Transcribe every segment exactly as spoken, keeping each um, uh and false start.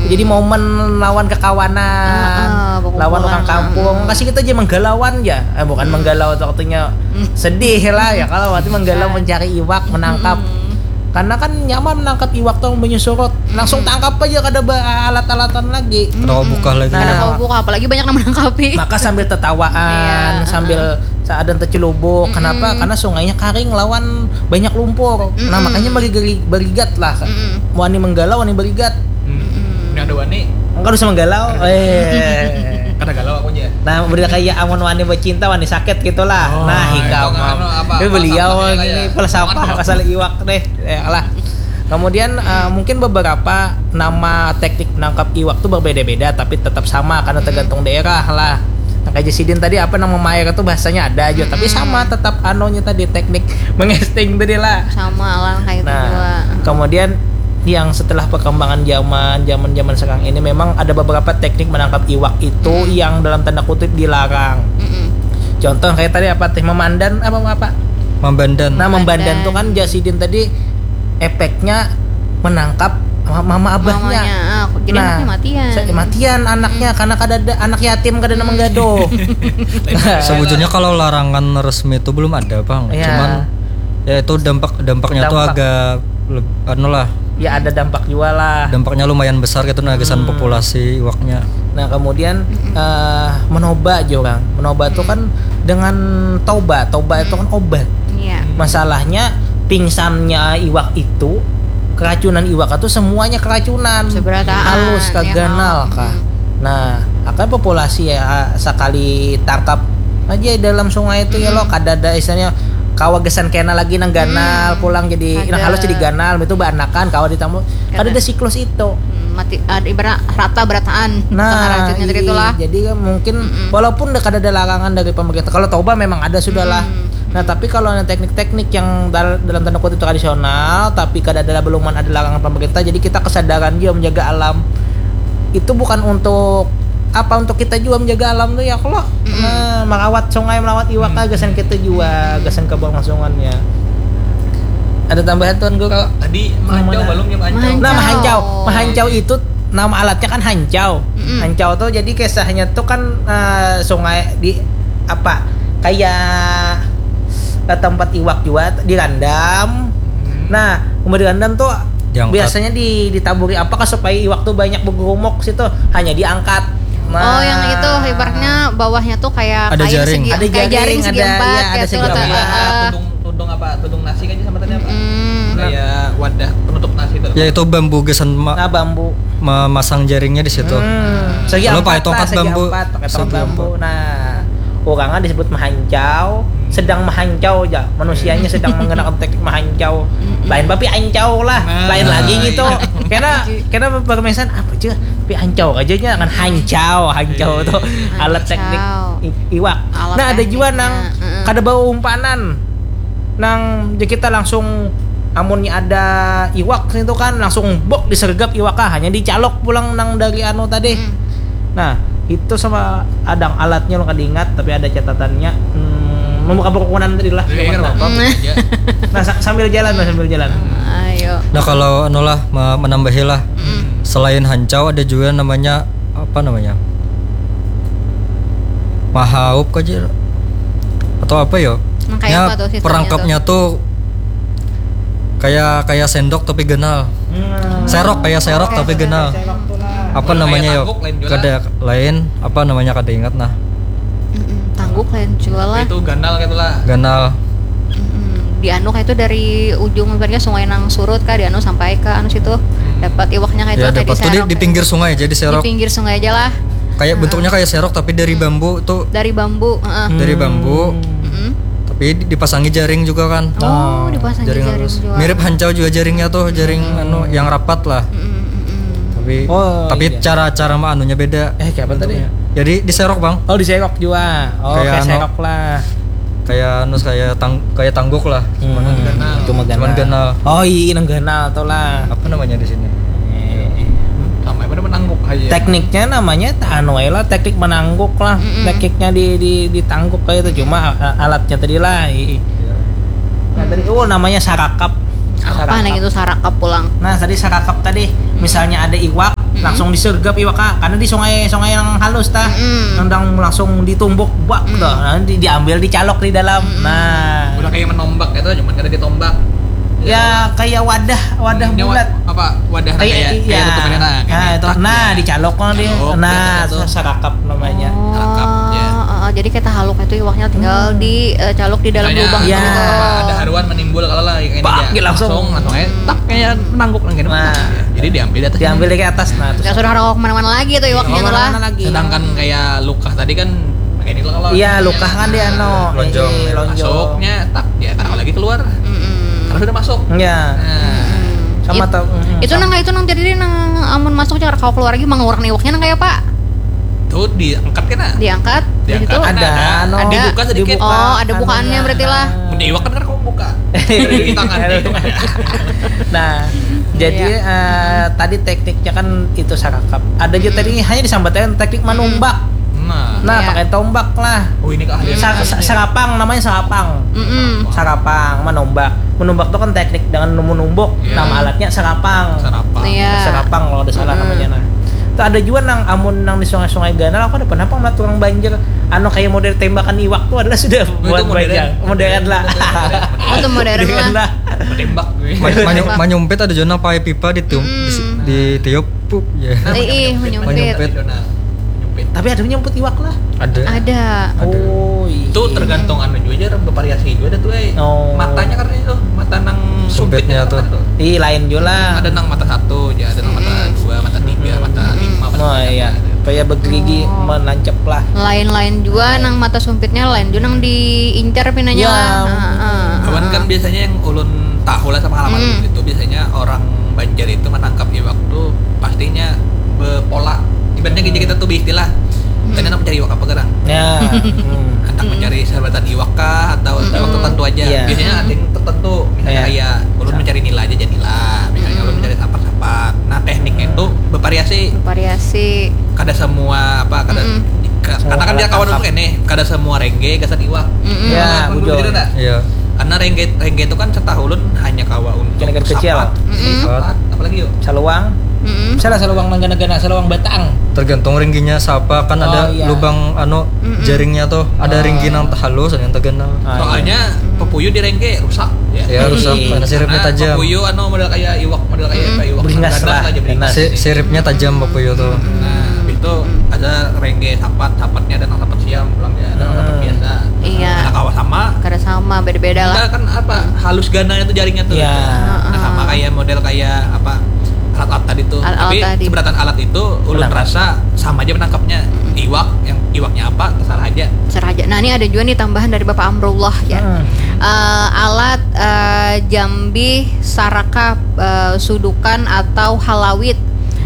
Jadi momen lawan kekawanan, Ah, ah, bakumpul lawan orang lah. Kampung. Kasih kita aja menggalauan ya. Eh, bukan menggalau tuh artinya sedih lah ya, kalau berarti menggalau mencari iwak, menangkap. Karena kan nyaman menangkap iwak tuh banyu surut. Langsung tangkap aja, kada ba- alat-alatan lagi. Kada kawa buka lagi. Nah. Kada kawa buka, apalagi banyak nang menangkapi. Maka sambil tetawaan, Iya, sambil seadan tecelubuk. Kenapa? Karena sungainya karing lawan banyak lumpur. Nah, makanya bari- barigat lah. Wani menggalau, wani barigat. Hmm. Ini ada wani. Enggak usah menggalau. Eh. Kada galau aku aja. Nah, beda kayak amun wani bercinta, wani sakit gitulah. Oh, Nah, itu hikam. kan apa, Tapi beliau falsafahnya ini kayak falsafah apa? Pasal iwak deh. Ya lah. Kemudian eh, mungkin beberapa nama teknik menangkap iwak tuh berbeda-beda, tapi tetap sama karena tergantung daerah lah. Nah, kayak Jasidin tadi, apa, nama memair itu bahasanya ada aja, tapi sama tetap anunya tadi, teknik mengesting tadi lah. Sama lah kayak itu Nah, juga. Kemudian yang setelah perkembangan zaman, zaman zaman sekarang ini, memang ada beberapa teknik menangkap iwak itu yang dalam tanda kutip dilarang. Mm-mm. Contoh kayak tadi apa teh, memandan apa apa? Membandan. Nah, membandan tuh kan Jasidin tadi efeknya menangkap ma- mama abahnya. Mamanya, ah, jadi Nah, anaknya matian. sa- matian anaknya karena kada ada anak yatim, kada ada menggaduh. Sebujurnya kalau larangan resmi itu belum ada, Bang. Iya. Cuman ya itu dampak dampaknya tuh Dampak. Agak leb- anu lah. Ya, ada dampak juga lah. Dampaknya lumayan besar gitu, nah, gasan populasi iwaknya. Nah, kemudian eh, menoba aja orang. Menoba tuh kan dengan toba. Toba itu kan obat. Iya. Masalahnya pingsannya iwak itu, keracunan iwak itu semuanya keracunan. Seberataan, Halus kah, ya, ganal kan? Kah. Nah, akan populasi ya sekali tangkap aja dalam sungai itu ya lo, kada ada istilahnya kawa gasan kena lagi nang ganal pulang jadi nang Kada. Halus jadi ganal itu baanakan kawa ditamu, kada Kada. Ada siklus itu. Hmm, mati ada ibarat rata berataan. Nah, Tengah racunnya tadi iya, itulah. Jadi kan mungkin walaupun udah kada ada larangan dari pemerintah, kalau toba memang ada sudah lah. Nah, tapi kalau ada teknik-teknik yang dal- dalam tanda kutip tradisional, tapi kada ada, belum ada larangan pemerintah, jadi kita kesadaran juga menjaga alam. Itu bukan untuk apa, untuk kita juga menjaga alam tuh ya, kalau nah, merawat sungai, merawat iwak, gasan kita juga, gasan keberlangsungannya. Ada tambahan, Tuan Guru? Tadi mahancau Mana? Belum ya, mahancau. Mahancau. Nah, mahancau. Mahancau itu nama alatnya kan hancau. Hancau tuh jadi kisahnya tuh kan eh, sungai di apa? Kayak eh, tempat iwak juga dirandam. Nah, umur dirandam tuh Diangkat. Biasanya di ditaburi apa kah supaya iwak tuh banyak bergerumuk situ? Hanya diangkat. Nah. Oh, yang itu ibaratnya bawahnya tuh kayak Ada kain jaring. segi- Ada kayak jaring, jaring segi ada, empat iya, ada kayak segi itu. empat. Heeh. Tudung, tudung apa? Tudung nasi kan sama tadi apa? Hmm. Kayak wadah penutup nasi itu. Ya itu bambu gasan ma- Nah, bambu. memasang jaringnya di situ. Hmm, segi Kalau empat pakai lah, tongkat segi bambu. Empat, pakai tongkat Segi bambu. Nah, orangnya disebut mahancau, sedang mahancau aja. Manusianya sedang menggunakan teknik mahancau. Lain bapi ancau lah, Nah, lain lagi iya. Gitu. Karena karena permesan apa aja? Tapi ancau aja jangan hancau, hancau Iya. Tuh alat teknik Hancau. i- iwak. Alat Nah, ada juga tekniknya, nang heeh. Kada bawa umpanan. Nang ya kita langsung amunnya ada iwak itu kan langsung bok disergap iwak ah, hanya dicalok pulang nang dari anu tadi. Nah, itu sama ada alatnya lo kada ingat tapi ada catatannya. Hmm, membuka perkebunan tadi lah. Jadi, kan apa-apa Hmm. aja. Nah, sa- sambil jalan lah, sambil jalan. Ayo. Nah kalau anu lah me- menambahi lah. Selain hancau ada juga namanya apa namanya? Mahaup aja atau apa yo? Nah, kayak Ya, apa tuh sistemnya perangkapnya tuh kayak kayak sendok tapi ganal. Hmm. Serok kayak serok tapi ganal. Serok tuh lah. Apa Kalau namanya kayak yo? Tangguk lain juga Kada lain apa namanya kada ingat nah. Mm-mm, tangguk lain juga lah. Itu ganal gitu lah. Ganal. Mm-mm. Di anu kayak itu dari ujung ibaratnya sungai nang surut kah di anu sampai ke anu situ dapat iwaknya kayak itu Ya kayak dapat tuh di, diserok. Di pinggir sungai aja Di diserok. Pinggir sungai aja lah. Kayak bentuknya kayak serok tapi dari bambu tuh Dari bambu, heeh. dari bambu. Mm-mm. Tapi di- dipasangi jaring juga kan. Oh, dipasang Jaring jaring halus. juga. Mirip hancau juga jaringnya tuh, jaring anu yang rapat lah. Mm-mm, mm-mm. Tapi Oh, tapi iya. cara cara ma anunya beda. Eh, kayak apa tadi? Jadi diserok bang. Oh, diserok juga. Oh, Kayak kayak anu. Serok lah. Kayak anu kayak tang kayak tangguk lah. Hmm, itu mah Cuman ganal. Oh iya, nang ganal tuh lah. Apa namanya di sini? Eh, Sama apa menangguk aja. Tekniknya namanya ta- anu aja lah, teknik menangguk lah. Tekniknya di, di ditangguk kayak itu, cuma a- alatnya tadi lah. I- i- Nah, tadi oh namanya sarakap. Apa nih itu sarakap pulang? Nah, tadi sarakap tadi misalnya ada iwak, Langsung disergap iwak, ah. Karena di sungai, sungai yang halus, tah. Nang langsung ditumbuk, bak, tuh. Nah, di-, diambil, dicalok di dalam. Nah. Udah kayak menombak itu, cuman kada ditombak. Ya, kayak wadah, wadah bulat. Apa, wadah kayak, kayak, iya, kayak tutupannya, nah, kayak itu. Nah, dicalok, nah, dia. Nah, itu sarakap namanya. Oh, sarakap, ya. Heeh, jadi kayak tahaluk itu iwaknya tinggal di, eh, caluk di dalam lubang itu. Misalnya, ada haruan menimbul kalau lah, kayak ini aja. Langsung, langsung aja, tak, kayak menangguk lagi. Nah. Jadi diambil di atas. Diambil dari atas, nah, terus. Ya sudah, ora kemana-mana lagi tuh iwaknya tuh lah. Sedangkan kayak lukah tadi kan, kayak ini kalau. Iya, lukah kan dia, anu, lonjong. Masuknya, tak, dia taruh lagi keluar. Karena sudah masuk. Iya. Nah. Sama tau. Itu nang, itu nang jadi nang amun masuk jangan kawa keluar lagi, mengeluarkan iwaknya nang kayak apa? Tuh diangkat kena. Diangkat, diangkat. Ada, anu, dibuka sedikit. Oh, ada bukaannya berarti lah. Mun iwak kan, kan kawa buka. Di tangan. Nah, jadi, eh, tadi tekniknya kan itu sarakap. Ada juga tadi hanya disambatkan teknik manumbak. Nah, pakai tombak lah. Oh, ini keahlian. Sa-, sa-, sarapang, namanya sarapang. Sarapang, manumbak. Manumbak tuh kan teknik dengan menumbuk. Iya. Nama alatnya sarapang. Sarapang. Iya. Sarapang kalau ada salah namanya, nah. Tuh ada juga nang amun nang di sungai-sungai ganal, aku ada pernah pang melihat orang banjir, anu, kayak model tembakan iwak tuh adalah sudah buat banjir. Modern lah. Oh, itu modern lah. Tembak gue. Ma-, manyu-, manyumpit ada juga nang pakai pipa ditiup, di, ditiup, pup, ya. Ih, manyumpit. Manyumpit. Tapi ada manyumpit iwak lah. Ada. Ada. Oh, iya. Itu tergantung anu juga, bervariasi juga ada tuh, eh. Oh. Matanya karena itu, mata nang sumpitnya tuh. Ih, lain juga lah. Ada nang mata satu, ya, ada nang mata dua, mata tiga, mata lima, mata enam, iya. Kayak begerigi menancap lah. Lain-lain juga nang mata sumpitnya, lain juga nang diincar pinanya lah. Heeh. Cuman kan biasanya yang ulun tahu lah sama pengalaman ulun itu, biasanya orang Banjar itu menangkap iwak tuh pastinya bepola. Ibaratnya gini, kita tuh beristilah, "Kena nak mencari iwak apa, gerang?" Ya. Hendak mencari sabatan iwak kah atau iwak tertentu aja? Iya. Biasanya ada yang tertentu, misalnya kayak ulun mencari nila aja, jadi nila. Misalnya ulun mencari sapat-sapat. Nah, tekniknya itu bervariasi. Bervariasi. Kada semua apa, kada, ka-, karena kan dia kawan ulun kene, kada semua rengge gasan iwak. Ya, bujur. Iya. Karena rengge, rengge itu kan setahu ulun hanya kawa untuk sapat, sapat, apalagi yuk? Saluang. Misalnya saluang nang gana-gana, saluang batang. Tergantung ringgihnya siapa, kan ada lubang, anu, jaringnya tuh. Ada ringgih nang halus, ada yang terganal. Ah, iya. Soalnya papuyu di rengge rusak, ya. Ya, rusak, karena siripnya tajam. Papuyu, anu, model kayak iwak, model kayak apa, iwak. Beringas lah, ganas lah, jadi beringas. Si-, siripnya tajam papuyu tuh. Nah, itu ada rengge sapat, sapatnya ada nang sapat siam, pulang ya, ada nang sapat biasa. Iya. Kada kawa sama. Kada sama, beda-beda lah. Enggak, kan apa, halus gananya tuh jaringnya tuh. Iya. Nah, sama kayak model kayak apa, alat-alat tadi tuh. Alat-alat tadi. Tapi seberatan alat itu, ulun rasa sama aja menangkapnya. Iwak, yang iwaknya apa, terserah aja. Terserah aja. Nah, ini ada juga nih tambahan dari Bapak Amrullah, ya. Eh, alat, eh, jambih, sarakap, eh, sudukan atau halawit.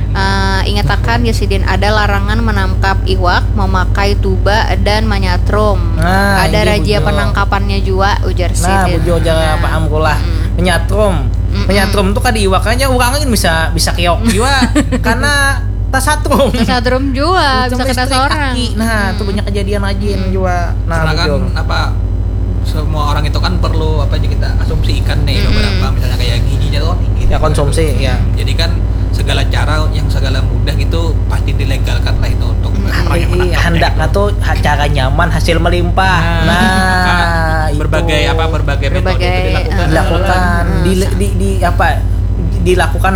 Eh, ingatakan, ya, sidin ada larangan menangkap iwak, memakai tuba, dan manyatrum. Nah, ada razia penangkapannya jua, ujar sidin. Nah, bujur, ujar Pak Amrullah. Menyatrum. Menyatrum tuh kada iwak aja, urang gin bisa, bisa keok jua. Karena tasatrum. Tasatrum jua, bisa kena seorang. Nah, tuh banyak kejadian rajin jua. Nah, bujur. Apa, semua orang itu kan perlu, apa aja, kita asumsikan nih, beberapa, misalnya kayak gizinya tuh tinggi. Ya, konsumsi, ya. Jadi kan segala cara yang segala mudah gitu pasti dilegalkan lah itu untuk orang yang menangkapnya. Handaknya tuh cara nyaman, hasil melimpah. Nah, itu. Berbagai apa, berbagai metode itu dilakukan. Dilakukan, di, di, di apa, dilakukan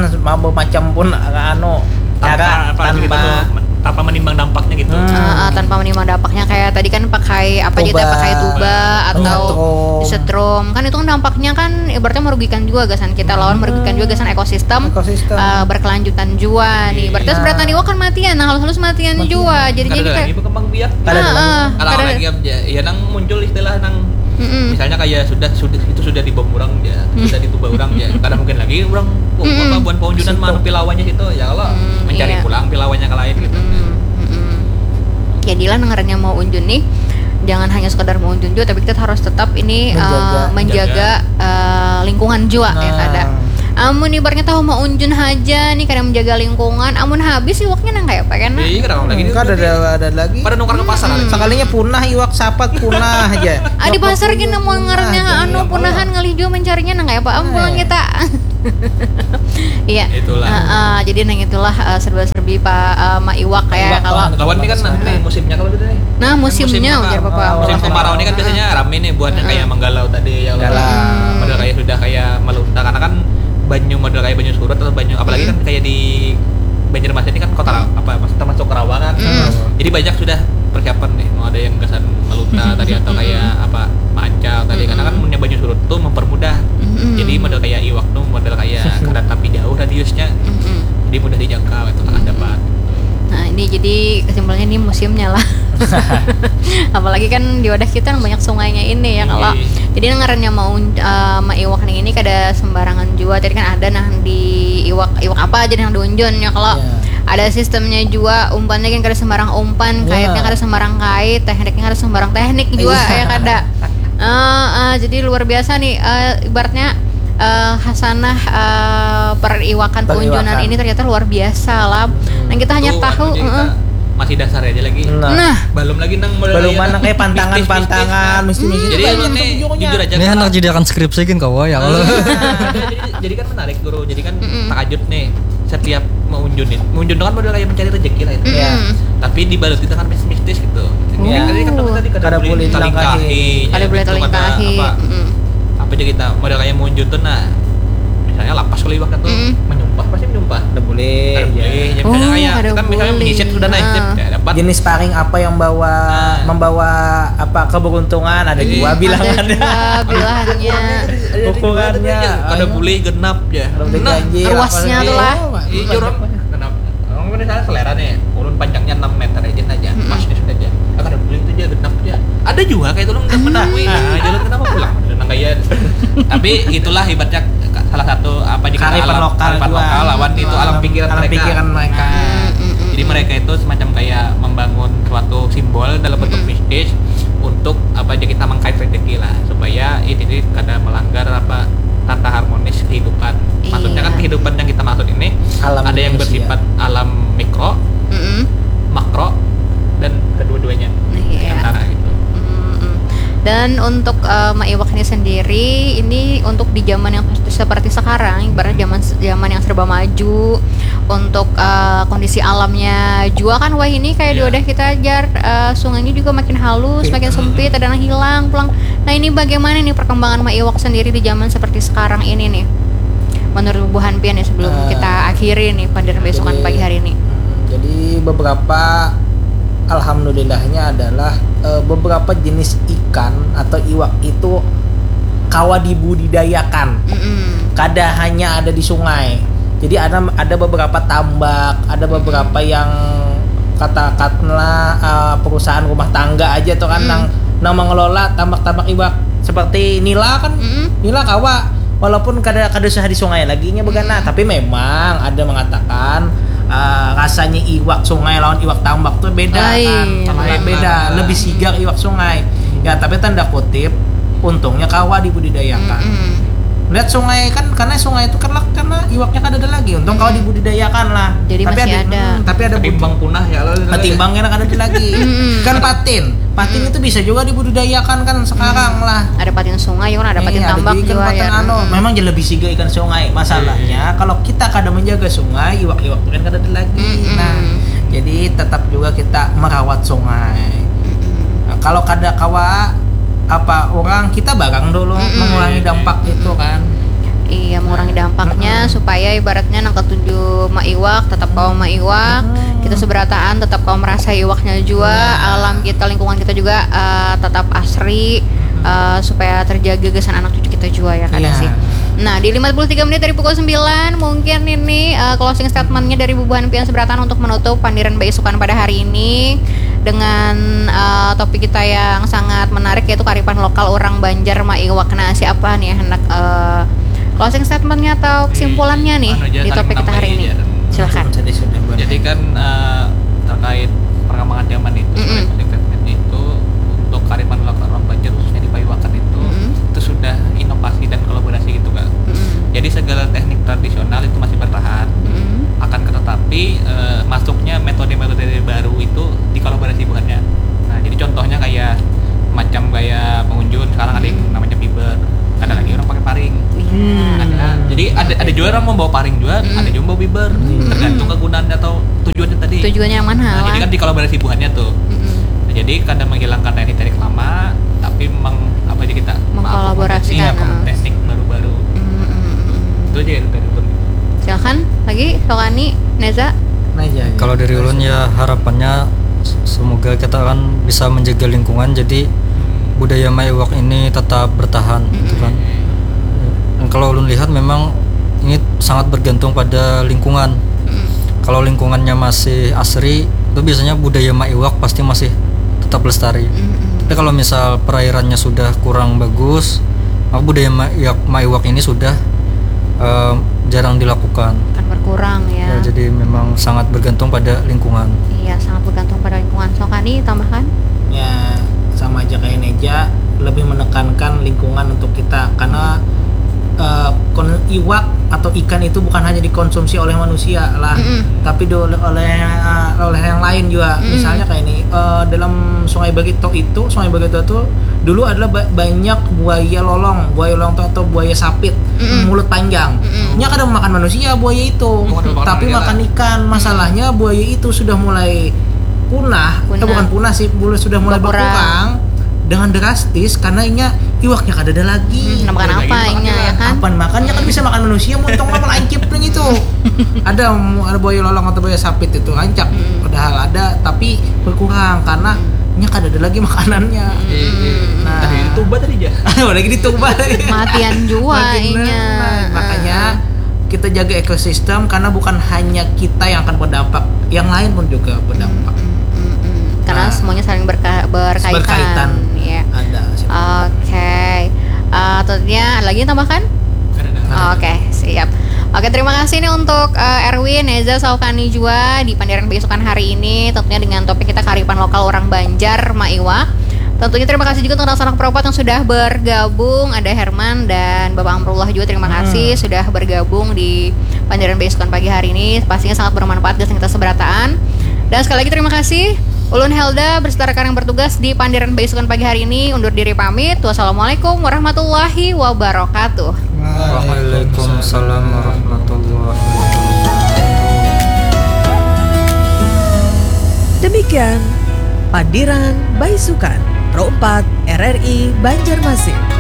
macam pun, anu, cara tanpa, tanpa menimbang dampaknya gitu. Ah, ah, tanpa menimbang dampaknya, kayak tadi kan pakai apa aja, pakai tuba atau disetrum. Kan itu kan dampaknya kan ibaratnya merugikan juga gasan kita, lawan merugikan juga gasan ekosistem. Ekosistem. Eh, berkelanjutan jua nih. Berarti seberatan iwak kan matian, nah, halus-halus matian jua. Jadinya kita lagi berkembang biak. Kada ada lagi. Heeh. Kada ada lagi, ya, nang muncul istilah nang misalnya kayak sudah, sudah, itu sudah dibom urang, ya, sudah dituba urang, ya. Kada mungkin lagi urang, oh, apa, buan paunjunan mah, pilawanya situ, ya, kalau mencari pulang pilawanya ke lain gitu. Jadilah nang ngarannya mau unjun nih, jangan hanya sekadar mau unjun jua, tapi kita harus tetap ini, eh, menjaga, eh, lingkungan jua, ya, kada. Amun ibaratnya tahu maunjun haja nih, kada menjaga lingkungan, amun habis iwaknya nang kaya apa kena? Iya, kada ada lagi. Kada ada, ada lagi. Pada nukar ke pasar. Sekalinya punah iwak sapat punah aja. Ah, di pasar gini mau ngarannya anu punahan, ngalih jua mencarinya nang kaya apa? Am, pulang kita. Iya. Itulah. Heeh, jadi nang itulah, eh, serba-serbi pa, eh, ma iwak ya kalau. Lawan ini kan nih musimnya kalau gitu nih. Nah, musimnya ujar papa. Musim kemarau ini kan biasanya rame nih buat yang kayak menggalau tadi ya. Galau. Model kayak sudah kayak melunta karena kan banyu, model kayak banyu surut atau banyu, apalagi kan kayak di Banjarmasin ini kan kota Ra- apa, maksudnya termasuk rawa kan. Jadi banyak sudah persiapan nih, mau ada yang gasan melunta tadi atau kayak apa, mancal tadi, karena kan munnya banyu surut tuh mempermudah. Jadi model kayak iwak tuh model kayak kada tapi jauh radiusnya. Jadi mudah dijangkau itu kan dapat. Nah, ini jadi kesimpulannya ini musimnya lah. Apalagi kan di wadah kita yang banyak sungainya ini ya kalau. Iya. Jadi nang ngarannya mau, eh, ma iwak nih ini kada sembarangan jua. Tadi kan ada nah di iwak, iwak apa aja yang diunjun ya kalau. Iya. Ada sistemnya jua, umpannya kan kada sembarang umpan, Iya. Kaitnya kada sembarang kait, tekniknya kada sembarang teknik jua ya kada. Eh, eh, jadi luar biasa nih, eh, ibaratnya, eh, hasanah, eh, periwakan Periwakan. Peunjunan ini ternyata luar biasa lah. Dan kita hanya Tuh, tahu, anu, jadi heeh. Masih dasar aja lagi. Nah. Nah, Belum lagi nang mulai Belum kayak mana kayak pantangan-pantangan, mistis-mistis. Jadi Banyak emang nih sejujurnya. Jujur aja Ini kan, anak jadi akan skripsi kan kawa ya kalau. jadi, jadi kan menarik guru. Jadi kan takajut nih setiap meunjun nih. Meunjun itu kan model kayak mencari rezeki lah itu. Iya. Tapi dibalut kita kan mistis-mistis gitu. Iya. Tadi kan tadi kada Kada boleh boleh talingkahi. dilangkahi. Kada boleh Itu talingkahi. Apa, Mm-mm. apa aja kita model kayak meunjun tuh nah. Misalnya lapas kalau iwaknya tuh Mm-mm. menyumpah pasti menyumpah. Kada boleh. Kada Ya. boleh. Ya, Oh, misalnya kayak kada kita misalnya boleh. menyisip sudah naik Ah. ya dapat. Jenis paring apa yang bawa Ah. membawa apa keberuntungan ada Iya. dua bilang Ada ada. dua bilangnya. Hukumannya. Kada boleh genap ya. Kalau udah Nah, ganjil, ruasnya apa tuh lah. segala. Iya, orang kenapa? Orang misalnya selera nih, ulun panjangnya enam meter aja aja, pasnya sudah aja. Ah, kada boleh itu aja genap aja. Ada juga kayak itu orang udah menakui. Nah, jalan kenapa pulang? Nang kayak tapi itulah ibaratnya salah satu apa aja kita Kearifan alam lokal kearifan juga. Lokal lawan itu alam pikiran Alam mereka. pikiran mereka. Nah, jadi mereka itu semacam kayak membangun suatu simbol dalam bentuk mistis untuk apa aja kita mengkait rezeki lah supaya ini kada melanggar apa tata harmonis kehidupan. Maksudnya kan Iya. Kehidupan yang kita maksud ini Alam ada yang manusia. Bersifat alam mikro, Mm-mm. makro, dan kedua-duanya Nah, iya. antara gitu. Mm-mm. Dan untuk eh, ma iwak ini sendiri, ini untuk di zaman yang seperti sekarang, ibarat zaman zaman yang serba maju, untuk eh, kondisi alamnya jua kan wah ini kayak di Iya. Wadah kita jar eh, sungainya juga makin halus, makin sempit, ada nang hilang pulang. Nah, ini bagaimana nih perkembangan ma iwak sendiri di zaman seperti sekarang ini nih? Menurut bubuhan pian nih sebelum Eh, kita akhiri nih pada besokan jadi, pagi hari ini. Hmm, jadi beberapa alhamdulillahnya adalah eh, beberapa jenis ikan atau iwak itu kawa dibudidayakan. Mm-mm. Kada hanya ada di sungai. Jadi ada ada beberapa tambak, ada beberapa yang katakanlah eh, perusahaan rumah tangga aja tuh kan Mm. nang nang mengelola tambak-tambak iwak seperti nila kan. Mm-mm. Nila kawa walaupun kada kada usah di sungai lagi nya begana, tapi memang ada mengatakan eh, rasanya iwak sungai lawan iwak tambak tuh beda Lain. kan. Sangat Lain beda, lah. Lebih sigar iwak sungai. Ya, tapi tanda kutip untungnya kawa dibudidayakan. Mm-mm. Lihat sungai kan karena sungai itu kelak karena iwaknya kada ada lagi. Untung kawa dibudidayakan lah. Jadi tapi masih ada. Hmm, tapi ada Tapi butuh- bang punah ya kalau Ketimbang kena kada ada lagi. Mm-mm. Kan patin. Patin itu bisa juga dibudidayakan kan sekarang lah. Ada patin sungai kan, ada patin Iya, tambak jadi ikan juga patin ya. Anu. Mm-mm. Memang jadi lebih siga ikan sungai. Masalahnya kalau kita kada menjaga sungai, iwak-iwak kan kada ada lagi. Mm-mm. Nah, jadi tetap juga kita merawat sungai. Mm-mm. Nah, kalau kada kawa apa orang kita barang dulu Mm-mm. mengurangi dampak itu kan. Iya, mengurangi dampaknya supaya ibaratnya nang ketuju ma iwak tetap kawa ma iwak. Kita seberataan tetap kawa merasa iwaknya juga. Alam kita, lingkungan kita juga eh, tetap asri eh, supaya terjaga gasan anak cucu kita juga ya kan Iya. sih. Nah, di lima puluh tiga menit dari pukul sembilan mungkin ini eh, closing statementnya dari bubuhan pian seberataan untuk menutup pandiran baisukan pada hari ini dengan eh, topik kita yang sangat menarik yaitu kearifan lokal orang Banjar ma iwak. Nah, siapa nih yang hendak eh, closing statementnya atau kesimpulannya nih Anu aja, di saling topik kita hari menambahi ini? Aja. Silahkan. Jadi sudah buat. Jadi kan eh, terkait perkembangan zaman itu, Mm-mm. seperti statement itu untuk kearifan lokal orang Banjar khususnya di paiwakan itu Mm-mm. itu sudah inovasi dan kolaborasi gitu kan. Mm-mm. Jadi segala teknik tradisional itu masih bertahan. Mm-mm. Akan tetapi eh, masuknya metode-metode baru itu dikolaborasi buhannya. Nah, jadi contohnya kayak macam gaya pengunjun sekarang ada yang namanya biber. Ada lagi orang pakai paring. Iya. Ada, jadi ada ada juga orang mau bawa paring juga, Mm. ada juga mau bawa biber. Mm. Tergantung kegunaannya atau tujuannya tadi. Tujuannya yang mana? Nah, jadi kan dikolaborasi buhannya tuh. Mm-mm. Nah, jadi kada menghilangkan teknik-teknik lama, tapi meng apa aja kita Mengkolaborasikan, mengakomodasi ah. teknik baru-baru. Mm-mm. Itu aja itu dari ulun. Silakan lagi, Sokani, Neza. Nah, iya, iya. Kalau dari ulun ya harapannya s- semoga kita kan bisa menjaga lingkungan, jadi budaya maiwak ini tetap bertahan gitu kan. Dan kalau ulun lihat memang ini sangat bergantung pada lingkungan. Mm-mm. Kalau lingkungannya masih asri, itu biasanya budaya maiwak pasti masih tetap lestari. Mm-mm. Tapi kalau misal perairannya sudah kurang bagus, maka budaya maiwak, maiwak ini sudah eh, jarang dilakukan. Akan berkurang ya. Ya, jadi memang sangat bergantung pada lingkungan. Iya, sangat bergantung pada lingkungan. Sokani, tambahkan? Ya, sama aja kayak Neja, lebih menekankan lingkungan untuk kita karena eh, kon- iwak atau ikan itu bukan hanya dikonsumsi oleh manusia lah, Mm-mm. tapi di- oleh oleh eh, oleh yang lain juga. Mm-mm. Misalnya kayak ini eh, dalam Sungai Bagito itu, Sungai Bagito itu dulu adalah ba- banyak buaya lolong, buaya lolong itu atau buaya sapit Mm-mm. mulut panjang. Mm-mm. Nya kada makan manusia buaya itu, Oh, kada makan tapi manusia makan lah. Ikan. Masalahnya buaya itu sudah mulai punah, Punah. Eh, bukan punah sih, mulai sudah mulai Berkurang. berkurang dengan drastis karena inya iwaknya kada ada lagi. Hmm, makan Daging apa makan inya juga. Ya kan? Apa makan ya kan bisa makan manusia, muntong lah melancip nih gitu. Ada ada buaya lolong atau buaya sapit itu rancak. Hmm. Padahal ada tapi berkurang karena nya kada ada lagi makanannya. Iya, iya. Nah. Tadi itu tadi aja. Lagi dituba. Matian jua Makin inya. nah, makanya kita jaga ekosistem karena bukan hanya kita yang akan berdampak, yang lain pun juga berdampak. Mm, mm, mm. Karena Nah. Semuanya saling berka- berkaitan. Berkaitan. Ya. Ada sih. Oke. Eh, tentunya ada lagi yang tambahkan? Kada ada. Oke, siap. Oke, terima kasih nih untuk eh, Erwin, Neza, Saukani juga di Pandiran Beisukan hari ini. Tentunya dengan topik kita kearifan lokal orang Banjar, Maiwak. Tentunya terima kasih juga untuk anak-anak Perompat yang sudah bergabung. Ada Herman dan Bapak Amrullah juga. Terima kasih sudah bergabung di Pandiran Beisukan pagi hari ini. Pastinya sangat bermanfaat gasan kita seberataan. Dan sekali lagi terima kasih. Ulun Helda beserta rekan yang bertugas di Pandiran Beisukan pagi hari ini undur diri pamit. Wassalamualaikum warahmatullahi wabarakatuh. Waalaikumsalam warahmatullahi wabarakatuh. Demikian Pandiran Baisukan Pro empat R R I Banjarmasin.